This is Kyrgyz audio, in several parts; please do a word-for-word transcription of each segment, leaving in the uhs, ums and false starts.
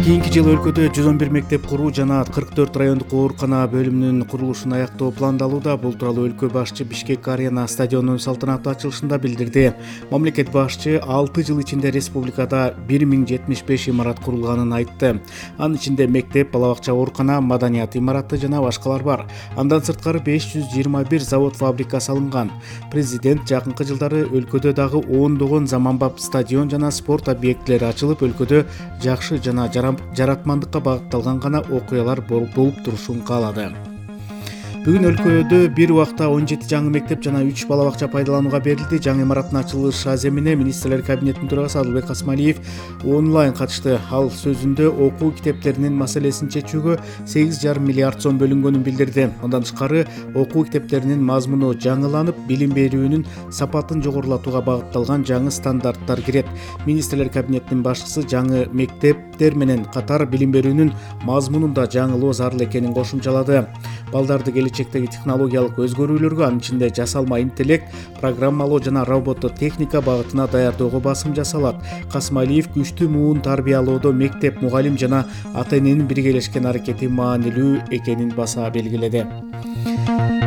Кийинки жылы өлкөдө жүз он бир мектеп куруу жана кырк төрт райондук оорукана бөлүмүнүн курулушун аяктоо пландалууда. Бул тууралуу өлкө башчы Бишкек Арена стадионунун салтанаттуу ачылышында билдирди. Мамлекет башчы алты жыл ичинде республикада бир миң жетимиш беш имарат курулганын айтты. Анын ичинде мектеп, бала бакча, оорукана, маданият имараты жана башкалар бар. Андан сырткары беш жүз жыйырма бир завод, фабрика салынган. Президент жакынкы жылдары өлкөдө дагы ондогон заманбап стадион жана спорт объектилери ачылып, өлкөдө жакшы жана жаратмандыкка багытталган гана окуялар болуп турушун каалады. Бүгүн өлкөдө бир убакта он жети жаңы мектеп жана үч бала бакча пайдаланууга берилди. Жаңы имараттын ачылыш аземине министрлер кабинетинин төрагасы Адылбек Касмалиев онлайн катышты. Ал сөзүндө окуу китептеринин маселесин чечүүгө сегиз жарым миллиард сом бөлүнгөнүн билдирди. Андан тышкары окуу китептеринин мазмуну жаңыланып, билим берүүнүн сапатын жогорулатууга багытталган жаңы стандарттар кирет. Министрлер кабинетинин башчысы жаңы мектептер менен катар билим берүүнүн мазмунун да жаңылоо зарыл экенин кошумчалады. Балдарды келечектеги технологиялык өзгөрүүлөргө, анын ичинде жасалма интеллект, программалоо жана роботто техника багытына даярдоого басым жасалат. Касмалиев күчтүү муун тарбиялоодо мектеп, мугалим жана ата-эненин биргелешкен аракети маанилүү экенин баса белгиледи.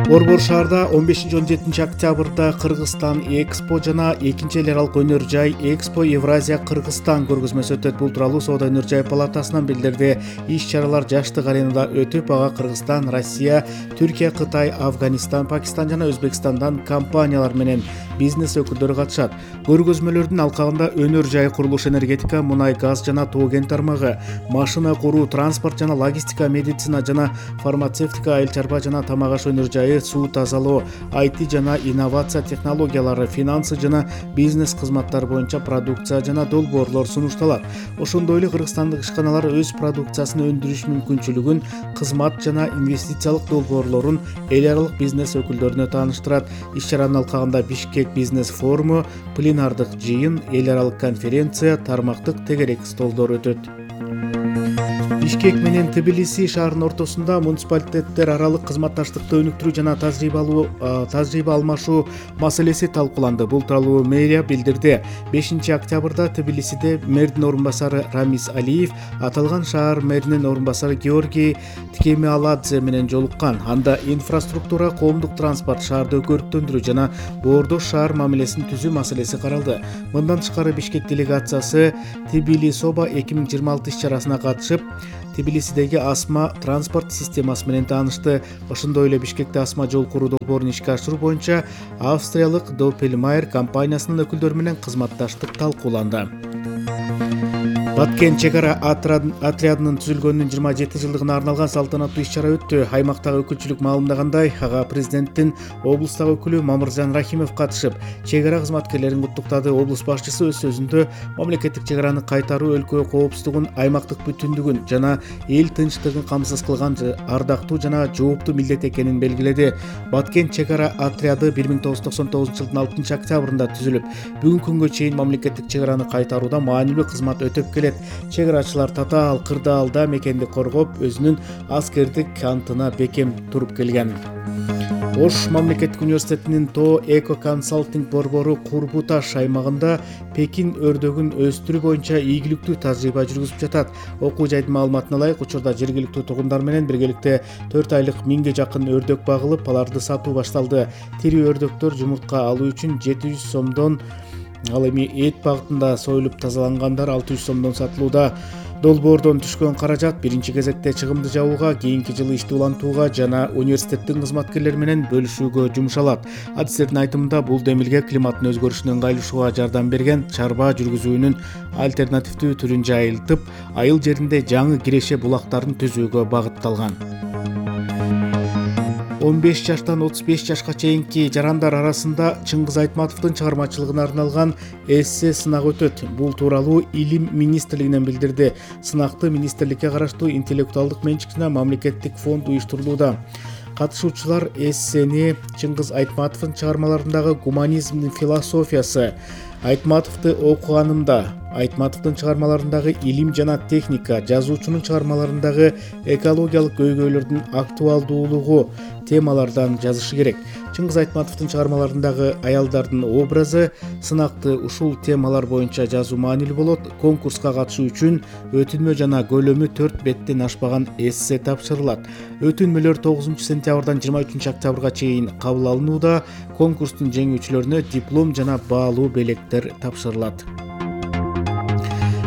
Борбор шаарда он бешинчи он жетинчи октябрда Кыргызстан Экспо жана экинчи эл аралык өнөр жай Экспо Евразия Кыргызстан көргөзмөсү өтөт. Бул тууралуу Соода өнөр жай палатасынан билдирди. Иш-чаралар жаштык аренада өтүп, ага Кыргызстан, Россия, Түркия, Кытай, Афганистан, Пакистан жана Өзбекстандан компаниялар менен бизнес өкүлдөрү катышат. Көргөзмөлөрдүн алкагында өнөр жай, курулуш, энергетика, мунай, газ жана тоо кен тармагы, машина куруу, транспорт жана логистика, медицина жана фармацевтика, айыл чарба жана тамак аш өнөр жайы, суу тазалоо, ай ти жана инновация технологиялары, финансы жана бизнес кызматтар боюнча продукция жана долбоорлор сунушталат. Ошондой эле кыргызстандык ишканалар өз продукциясын өндүрүш мүмкүнчүлүгүн, кызмат жана инвестициялык долбоорлорун эл аралык бизнес өкүлдөрүнө тааныштырат. Иш-чаранын алкагында Бишкек бизнес форуму, пленардык жыйын, эл аралык конференция, тармактык тегерек столдор өтөт. Бишкек менен Тбилиси шаарынын ортосунда муниципалитеттер аралык кызматташтыкты өнүктүрүү жана тажрыйбалуу тажрыйба алмашуу маселеси талкууланды. Бул тууралуу мэрия билдирди. бешинчи октябрда Тбилисиде мэрдин орун басары Рамис Алиев аталган шаар мэринин орун басары Георгий Ткемиаладзе менен жолуккан. Анда инфраструктура, коомдук транспорт, шаарды көрктөндүрүү жана боордош шаар мамилесин түзүү маселеси каралды. Мындан тышкары Бишкек делегациясы Тбилисоба эки миң жыйырма алты иш-чарасына катышып, Тбилисидеги асма транспорт системасы менен таанышты. Ошондой эле Бишкекте асма жол куруу долбоорун ишке ашыруу боюнча австриялык Doppelmayr компаниясынын өкүлдөрү менен кызматташтык талкууланды. Баткен чек ара отрядынын түзүлгөнүнүн жыйырма жети жылдыгына арналган салтанаттуу иш-чара өттү. Аймактагы өкүлчүлүк маалымдагандай, ага президенттин облустагы өкүлү Мамыржан Рахимов катышып, чек ара кызматкерлерин куттуктады. Облус башчысы өз сөзүндө мамлекеттик чек араны кайтаруу өлкө коопсуздугун, аймактык бүтүндүгүн жана эл тынчтыгын камсыз кылган ардактуу жана жооптуу милдет экенин белгиледи. Баткен чек ара отряды бир миң тогуз жүз токсон тогузунчу жылдын алтынчы октябрында түзүлүп, бүгүнкү күнгө чейин мамлекеттик чек араны кайтарууда маанилүү кызмат өтөп келет. Чек арачылар татаал, кырдаалда мекенди коргоп, өзүнүн аскердик антына бекем туруп келген. Ош мамлекеттик университетинин тоо эко консалтинг борбору Курбуташ аймагында Пекин өрдөгүн өстүрүү боюнча ийгиликтүү тажрыйба жүргүзүп жатат. Окуу жайдын маалыматына ылайык, учурда жергиликтүү тургундар менен биргеликте төрт айлык миңге жакын өрдөк багылып, аларды сатуу башталды. Тирүү өрдөктөр жумуртка алуу үчүн жети жүз сомдон, ал эми эт багытында союлуп тазалангандар алты жүз сомдон сатылууда. Долбоордон түшкөн каражат биринчи кезекте чыгымды жабууга, кийинки жылы ишти улантууга жана университеттин кызматкерлери менен бөлүшүүгө жумшалат. Адистердин айтымында, бул демилге климаттын өзгөрүшүнө ыңгайлашууга жардам берген, чарба жүргүзүүнүн альтернативдүү түрүн жайылтып, айыл жеринде жаңы киреше булактарын түзүүгө багытталган. он беш жаштан отуз беш жашка чейинки жарандар арасында Чыңгыз Айтматовдун чыгармачылыгына арналган эссе сынак өтөт. Бул тууралуу Илим министрлигинен билдирди. Сынакты министрликке караштуу интеллектуалдык менчик жана мамлекеттик фонд уюштурулууда. Катышуучулар эссени Чыңгыз Айтматовдун чыгармаларындагы гуманизмдин философиясы, Айтматовду окуганымда Айтматовдун чыгармаларындагы илим жана техника, жазуучунун чыгармаларындагы экологиялык көйгөйлөрдүн актуалдуулугу темалардан жазышы керек. Чыңгыз Айтматовдун чыгармаларындагы аялдардын образы, сынакты ушул темалар боюнча жазуу маанилүү болот. Конкурска катышуу үчүн өтүнмө жана көлөмү төрт беттен ашпаган эссе тапшырылат. Өтүнмөлөр тогузунчу сентябрдан жыйырма үчүнчү октябрга чейин кабыл алынууда. Конкурстун жеңүүчүлөрүнө диплом жана баалуу белектер тапшырылат.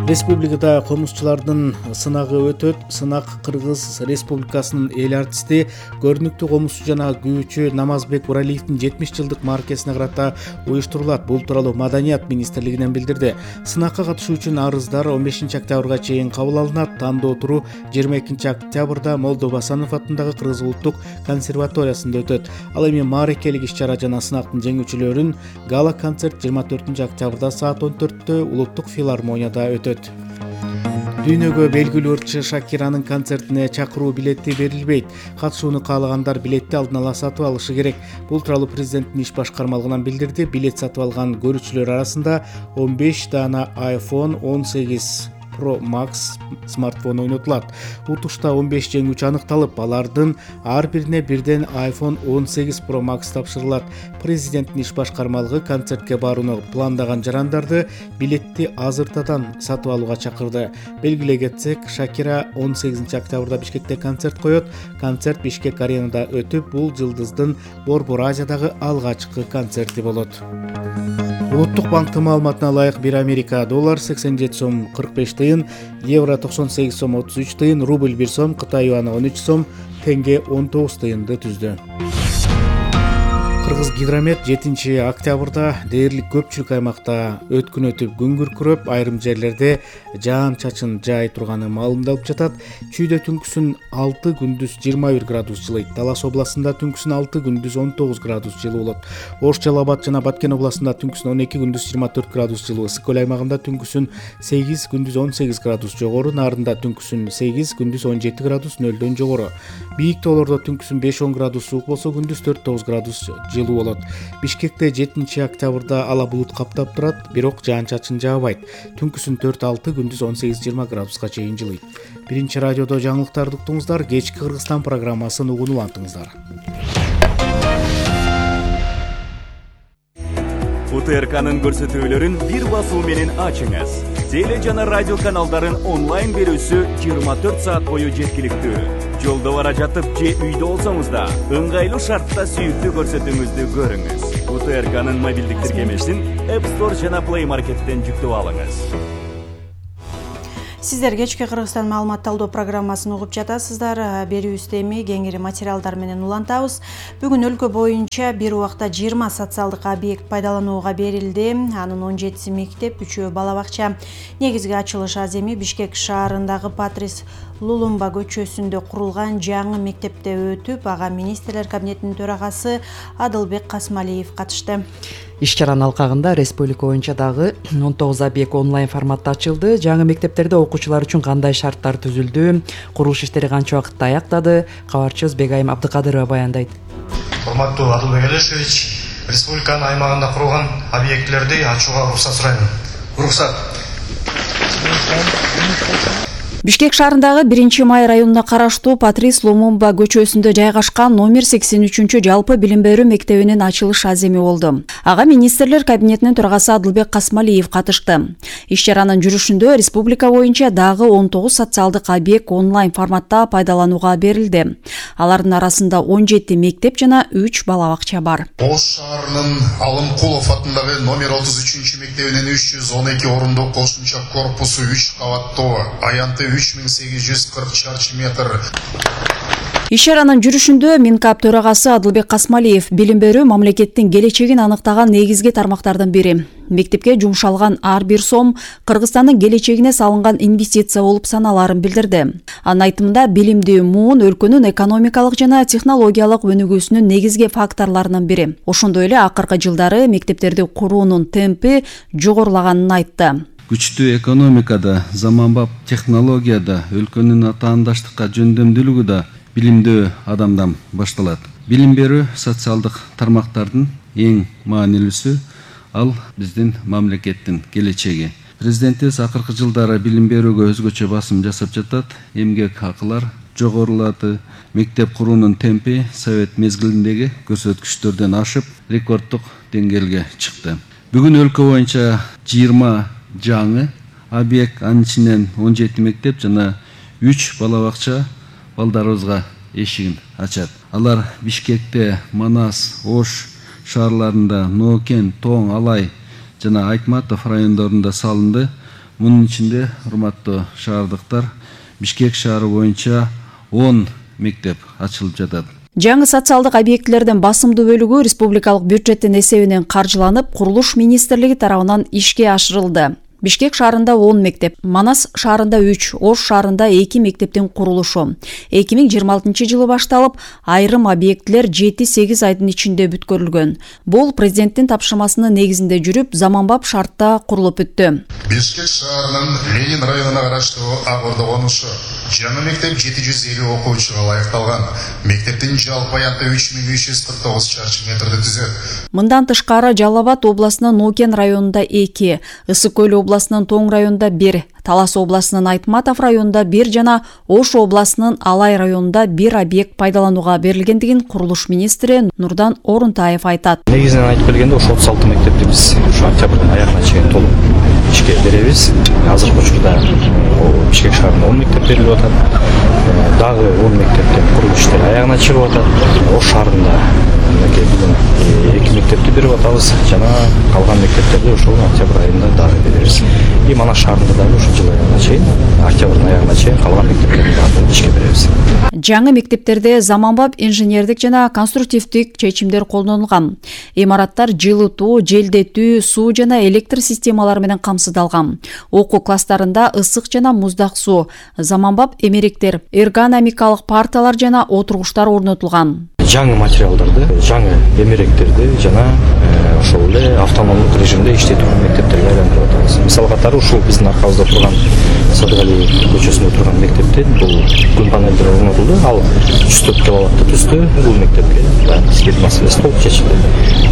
Республикада комузчулардын сынагы өтөт. Сынак Кыргыз Республикасынын эл артисти, көрүнүктүү комузчу жана күүчү Намазбек Уралиевдин жетимиш жылдык маркесине карата уюштурулат. Бул тууралуу Маданият министрлигинен билдирди. Сынакка катышуу үчүн арыздар он бешинчи октябрга чейин кабыл алынат. Тандоо туру жыйырма экинчи октябрда Молдо Басанов атындагы Кыргыз улуттук консерваториясында өтөт. Ал эми маарекелик иш-чара жана сынактын жеңүүчүлөрүн гала концерт жыйырма төртүнчү октябрда саат он төрттө улуттук филармонияда өтөт. Дүйнөгө белгилүү ырчы Шакиранын концертине чакыруу билети берилбейт. Катышууну каалагандар билетти алдын ала сатып алышы керек. Бул тууралуу президенттин иш башкармалыгынан билдирди. Билет сатып алган көрүүчүлөр арасында он беш даана айфон он сегиз Pro Max смартфон ойнотулат. Утушта он беш жеңүүчү аныкталып, алардын ар бирине бирден айфон он сегиз Pro Max тапшырылат. Президенттин иш башкармалыгы концертке барууну пландаган жарандарды билетти азыртадан сатып алууга чакырды. Белгилей кетсек, Шакира он сегизинчи октябрда Бишкекте концерт коет. Концерт Бишкек аренада өтүп, бул жылдыздын Борбор Азиядагы алгачкы концерти болот. Улуттук банктын маалыматына ылайык бир Америка доллар сексен жети сом кырк беш тыйын, евро токсон сегиз сом отуз үч тыйын, рубль бир сом, Кытай юаны он үч сом, тенге он тогуз тыйынды түздү. Кыргыз Гидромет жетинчи октябрда дээрлик көпчүлүк аймакта өткүнөтүп күн күркүрөп, айрым жерлерде жаан-чачын жаай турганы маалымдалып жатат. Чүйдө түнкүсүн алты, күндүз жыйырма бир градус жылыйт. Талас областында түнкүсүн алты, күндүз он тогуз градус жылуу болот. Ош, Жалал Абад жана Баткен областында түнкүсүн он эки, күндүз жыйырма төрт градус жылуу. Ысык көл аймагында түнкүсүн сегиз, күндүз он сегиз градус жогору. Нарында түнкүсүн сегиз, күндүз он жети градус нөлдөн жогору. Бийик тоолордо түнкүсүн беш он градус суук болсо, күндүз төрт тогуз градус жылуу болот. Бишкекте жетинчи октябрда ала булут каптап турат, бирок жаан-чачын жаабайт. Түнкүсүн төрт алты, күндүз он сегиз жыйырма градуска чейин жылыйт. Биринчи радиодо жаңылыктарды уктуңуздар. Кечки Кыргызстан программасын угуп улантыңыздар. У Т Р К'нын көрсөтүүлөрүн бир басуу менен ачыңыз. Теле жана радио каналдарын онлайн берүүсү жыйырма төрт саат бою жеткиликтүү. Жолдо бара жатып же үйдө болсоңуз да ыңгайлуу шартта сүйүктүү көрсөтүүңүздү көрүңүз. У Т Р К'нын мобилдик тиркемесин App Store жана Play Market'тен жүктөп алыңыз. Сиздер кечки Кыргызстан маалымат талдоо программасын угуп жатасыздар. Берүүбүздө эми кеңири материалдар менен улантабыз. Бүгүн өлкө боюнча бир убакта жыйырма социалдык объект пайдаланууга берилди. Анын он жетиси мектеп, үчөө бала бакча. Негизги ачылыш аз эми Бишкек шаарындагы Патрис Лулумба көчөсүндө курулган жаңы мектепте өтүп, ага министрлер кабинетинин төрагасы Адылбек Касмалиев катышты. Иш-чаранын алкагында республика боюнча дагы он тогуз объект онлайн форматта ачылды. Жаңы мектептерде окуучулар үчүн кандай шарттар түзүлдү, курулуш иштери канча убакытта аяктады, кабарчыбыз Бегайым Абдыкадырова баяндайт. Урматтуу Адылбек Алешевич, республиканын аймагында курулган объектлерди ачууга уруксат сурайм. Уруксат. Бишкек шаарындагы биринчи май районуна караштуу Патрис Лумумба көчөсүндө жайгашкан номер сексен үчүнчү жалпы билим берүү мектебинин ачылыш аземи болду. Ага министрлер кабинетинин төрагасы Адылбек Касмалиев катышты. Иш-чаранын жүрүшүндө республика боюнча дагы он тогуз социалдык объект онлайн форматта пайдаланууга берилди. Алардын арасында он жети мектеп жана үч бала бакча бар. Ош шаарынын Алымкулов атындагы номер отуз үчүнчү мектебинин үч жүз он эки орундук кошумча корпусу үч кабаттуу, аянты үч миң сегиз жүз кырк чарчы метр. Иш-чаранын жүрүшүндө Минкап төрагасы Адылбек Касмалиев билим берүү мамлекеттин келечегин аныктаган негизги тармактардын бири. Мектепке жумшалган ар бир сом Кыргызстандын келечегине салынган инвестиция болуп саналарын билдирди. Анын айтымында билимдүү муун өлкөнүн экономикалык жана технологиялык өнүгүүсүнүн негизги факторлорунун бири. Ошондой эле акыркы жылдары мектептерди куруунун темпи жогорулаганын айтты. Күчтүү экономикада, заманбап технологияда, өлкөнүн атаандаштыкка жөндөмдүүлүгү да билимдүү адамдан башталат. Билим берүү социалдык тармактардын эң маанилүүсү, ал биздин мамлекеттин келечеги. Президентибиз акыркы жылдары билим берүүгө өзгөчө басым жасап жатат. Эмгек акылар жогорулады. Мектеп куруунун темпи совет мезгилиндеги көрсөткүчтөрдөн ашып, рекорддук деңгээлге чыкты. Бүгүн өлкө боюнча жыйырма жаңы объект, анын ичинен он жети мектеп жана үч бала бакча балдарыбызга эшигин ачат. Алар Бишкекте, Манас, Ош шаарларында, Ноокен, Тоң, Алай жана Айтматов райондорунда салынды. Мунун ичинде, урматтуу шаардыктар, Бишкек шаары боюнча он мектеп ачылып жатат. Жаңы социалдык объектилердин басымдуу бөлүгү республикалык бюджеттин эсебинен каржыланып, курулуш министрлиги тарабынан ишке ашырылды. Бишкек шаарында он мектеп, Манас шаарында үч, Ош шаарында эки мектептин курулушу. эки миң жыйырма алтынчы жылы башталып, айрым объектилер жети сегиз айдын ичинде бүткөрүлгөн. Бул президенттин тапшырмасынын негизинде жүрүп, заманбап шартта курулуп бүттү. Бишкек шаарынын Ленин районуна караштуу Ак Ордо конушу жаңы мектеп жети жүз элүү окуучуга ылайыкталган. Мектептин жалпы аянты үч миң үч жүз кырк тогуз чарчы метрди түзөт. Мындан тышкары Жалал Абад областынын Ноокен районунда эки, Ысык Көл областынын Тоң районунда бир, Талас областынын Айтматов районунда бир жана Ош областынын Алай районунда бир объект пайдаланууга берилгендигин курулуш министри Нурдан Орунтаев айтат. Негизинен айтып келгенде ошо отуз алты мектепти биз ушу октябрдын аягына чейин толук ишке беребиз. Азыркы учурда Бишкек шаарында он мектеп берилип атат. Дагы он мектептин курулуш иштери аягына чыгып атат. Ош шаарында бүгүн эки мектепти берип атабыз жана калган мектептерди ошол октябрь айында дагы беребиз. И Манас шаарында дагы ушул жыл аягына чейин, октябрдын аягына чейин калган мектептерди дагы ишке беребиз. Жаңы мектептерде заманбап инженердик жана конструктивдик чечимдер колдонулган. Имараттар жылытуу, желдетүү, суу жана электр системалары менен камсыздалган. Окуу класстарында ысык жана муздак суу, заманбап эмеректер, эргономикалык парталар жана отургучтар орнотулган. Жаңы материалдарды, жаңы эмеректерди жана ошол эле автономдук режимде иштетүү мектептерге айландырып атабыз. Мисал катары ушул биздин аркабызда турган Садыгали көчөсүндө турган мектепте бул күн панелдер орнотулду. Ал жүз төрт киловатты түздү. Бул мектепке баягы свет маселеси толук чечилди.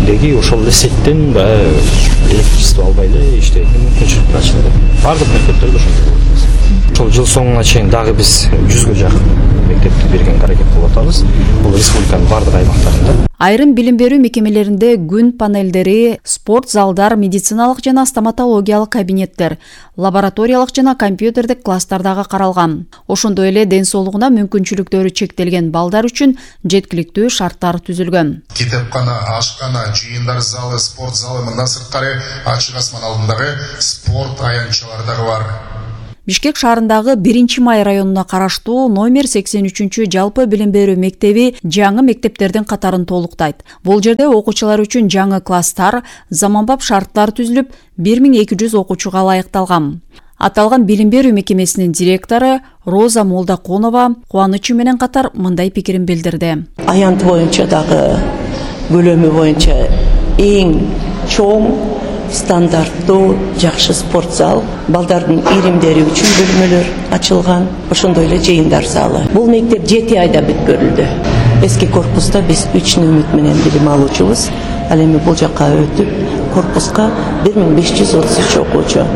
Деги ошол эле сеттен баягы электричество албай эле иштейтин мүмкүнчүлүк ачылды. Бардык мектептерде ошондой болот. Ошол жыл соңуна чейин дагы биз жүзгө жакын мектепти бергенге аракет кылып атабыз. Бул республиканын бардык аймактарында. Айрым билим берүү мекемелеринде күн панелдери, спорт залдар, медициналык жана стоматологиялык кабинеттер, лабораториялык жана компьютердик класстар дагы каралган. Ошондой эле ден соолугуна мүмкүнчүлүктөрү чектелген балдар үчүн жеткиликтүү шарттар түзүлгөн. Китепкана, ашкана, жыйындар залы, спорт залы, мындан сырткары ачык асман алдындагы спорт аянтчалары дагы бар. Бишкек шаарындагы биринчи май районуна караштуу номер сексен үчүнчү жалпы билим берүү мектеби жаңы мектептердин катарын толуктайт. Бул жерде окуучулар үчүн жаңы класстар, заманбап шарттар түзүлүп, бир миң эки жүз окуучуга ылайыкталган. Аталган билим берүү мекемесинин директору Роза Молдаконова кубанычы менен катар мындай пикирин билдирди. Аянт боюнча дагы бөлөмү боюнча эң чоң стандарттуу жакшы спорт зал, балдардын иримдери үчүн бөлмөлөр ачылган, ошондой эле жыйындар залы. Бул мектеп жети айда бүткөрүлдү. Эски корпуста биз үч нөмүт менен билим алуучубуз. Ал эми бул жакка өтүп, корпуска бир миң беш жүз отуз үч окуучу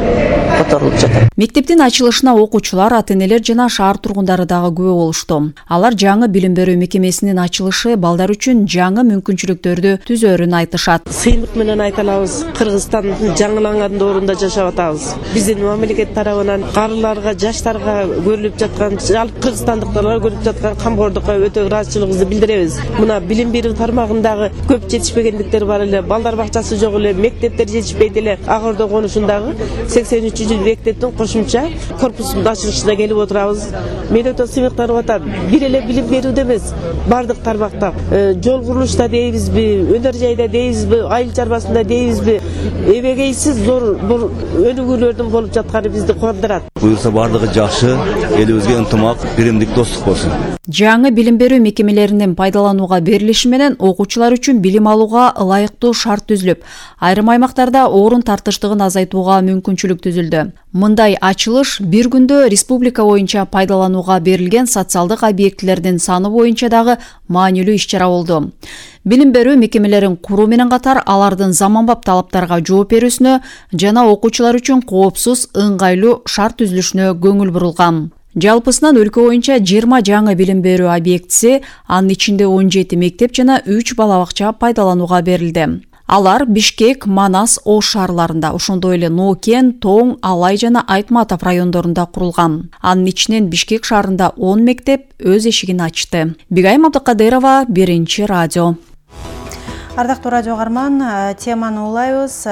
которулуп жатат. Мектептин ачылышына окуучулар, ата-энелер жана шаар тургундары дагы күбө болушту. Алар жаңы билим берүү мекемесинин ачылышы балдар үчүн жаңы мүмкүнчүлүктөрдү түзөрүн айтышат. Сыймык менен айта алабыз, Кыргызстандын жаңыланган доорунда жашап атабыз. Биздин мамлекет тарабынан карыларга, жаштарга көрүлүп жаткан, жалпы кыргызстандыктарга көрүлүп жаткан камкордукка өтө ыраазычылыгыбызды билдиребиз. Мына билим берүү тармагындагы көп жетишпегендиктер бар эле, балдар бакчасы жок эле, мектептер жетишпейт эле. Ак Ордо конушундагы сексен үчүнчү мектептин кошумча корпусунун ачылышына келип отурабыз. Мен өтө сыймыктанып атам. Бир эле билим берүүдө эмес, бардык тармакта, жол курулушта дейбизби, өнөр жайда дейбизби, айыл чарбасында дейбизби, эбегейсиз зор бул өнүгүүлөрдүн болуп жатканы бизди кубандырат. Буюрса бардыгы жакшы, элибизге ынтымак, биримдик, достук болсун. Жаңы билим берүү мекемелеринин пайдаланууга берилиши менен окуучулар үчүн билим алууга ылайыктуу шарт түзүлүп, айрым аймактарда орун тартыштыгын азайтууга мүмкүнчүлүк түзүлдү. көзөмөлдө. Мындай ачылыш бир күндө республика боюнча пайдаланууга берилген социалдык объектилердин саны боюнча дагы маанилүү иш-чара болду. Билим берүү мекемелерин куруу менен катар алардын заманбап талаптарга жооп берүүсүнө жана окуучулар үчүн коопсуз, ыңгайлуу шарт түзүлүшүнө көңүл бурулган. Жалпысынан өлкө боюнча жыйырма жаңы билим берүү объектиси, анын ичинде он жети мектеп жана үч бала бакча пайдаланууга берилди. Алар Бишкек, Манас, Ош шаарларында, ошондой эле Нокен, Тоң, Алай жана Айтматов райондорунда курулган. Анын ичинен Бишкек шаарында он мектеп өз эшигин ачты. Бегайым Абдыкадырова, Биринчи радио. Ардактуу радио каарман, теманы улайбыз.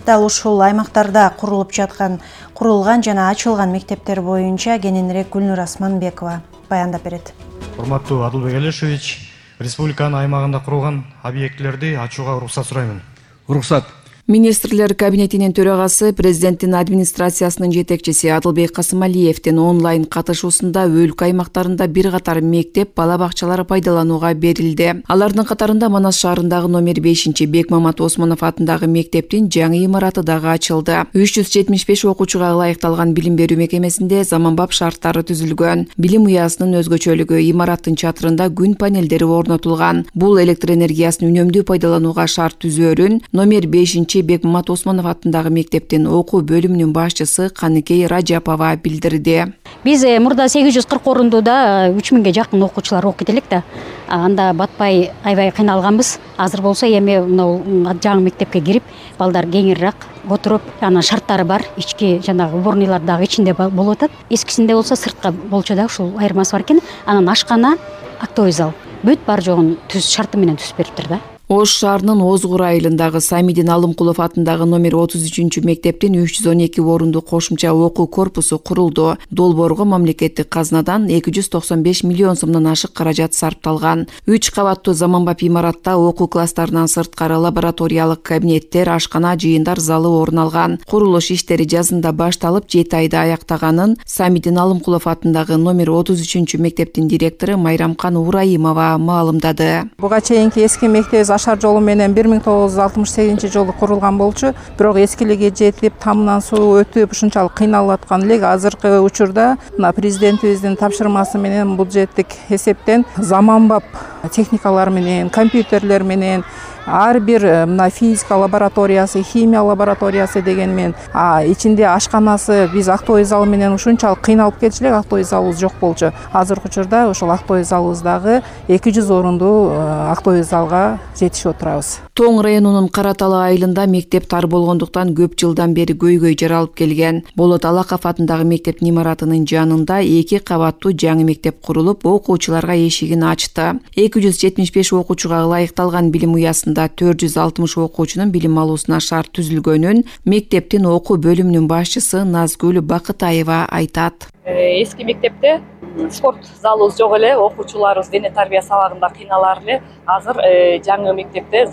Дал ушул аймактарда курулуп жаткан, курулган жана ачылган мектептер боюнча кененирээк Гүлнур Асманбекова баяндап берет. Урматтуу Адылбек Алишевич, республиканын аймагында курулган объектилерди ачууга уруксат сураймын. Уруксат. Министрлер кабинетинин төрагасы президенттин администрациясынын жетекчиси Адылбек Касымалиевдин онлайн катышуусунда өлкө аймактарында бир катар мектеп, бала бакчалары пайдаланууга берилди. Алардын катарында Манас шаарындагы номер бешинчи Бекмамат Осмонов атындагы мектептин жаңы имараты дагы ачылды. үч жүз жетимиш беш окуучуга ылайыкталган билим берүү мекемесинде заманбап шарттары түзүлгөн. Билим уясынын өзгөчөлүгү имараттын чатырында күн панелдери орнотулган. Бул электр энергиясын үнөмдүү пайдаланууга шарт түзөөрүн номер бешинчи Бекмамат Осмонов атындагы мектептин окуу бөлүмүнүн башчысы Каныкей Ражапова билдирди. Биз мурда сегиз жүз кырк орундуда үч миңге жакын окуучулар окуйт элек да. Анда батпай аябай кыйналганбыз. Азыр болсо эми мына жаңы мектепке кирип, балдар кеңирээк отуруп, анан шарттары бар, ички жанагы уборныйлар дагы ичинде болуп атат. Эскисинде болсо сыртка болчу да, ушул айырмасы бар экен. Анан ашкана, актовый зал. Бүт бар жогун түз шарты менен түзүп бериптир да. Ош шаарынын Озгур айылындагы Самидин Алымкулов атындагы номер отуз үчүнчү мектептин үч жүз он эки орунду кошумча окуу корпусу курулду. Долбоорго мамлекеттик казнадан эки жүз токсон беш миллион сомдон ашык каражат сарпталган. үч кабаттуу заманбап имаратта окуу класстарынан сырткары лабораториялык кабинеттер, ашкана, жыйындар залы орун алган. Курулуш иштери жазында башталып, жети айда аяктаганын Самидин Алымкулов атындагы номер отуз үчүнчү мектептин директору Майрамкан Ураимова маалымдады. Буга чейинки эски мектеп Ашар жолу менен бир миң тогуз жүз алтымыш сегизинчи жылы курулган болчу, бирок эскилиги жетип, тамынан суу өтүп, ушунчалык кыйналып аткан элек. Азыркы учурда мына президентибиздин тапшырмасы менен бюджеттик эсептен заманбап техникалар менен, компьютерлер менен ар бир мына физика лабораториясы, химия лабораториясы деген менен, а ичинде ашканасы, биз актовый зал менен ушунчалык кыйналып келчү элек, актовый залыбыз жок болчу. Азыркы учурда ошол актовый залыбыздагы эки жүз орунду актовый залга жетишип отурабыз. Тоң районунун Караталы айылында мектеп тар болгондуктан көп жылдан бери көйгөй жаралып келген. Болот Алаков атындагы мектептин имаратынын жанында эки кабаттуу жаңы мектеп курулуп, окуучуларга эшигин ачты. эки жүз жетимиш беш окуучуга ылайыкталган билим уясында төрт жүз алтымыш окуучунун билим алуусуна шарт түзүлгөнүн мектептин окуу бөлүмүнүн башчысы Назгүл Бакытаева айтат. Эски мектепте спорт залыбыз жок эле, окуучуларыбыз дене тарбия сабагында кыйналар эле. Азыр жаңы мектепте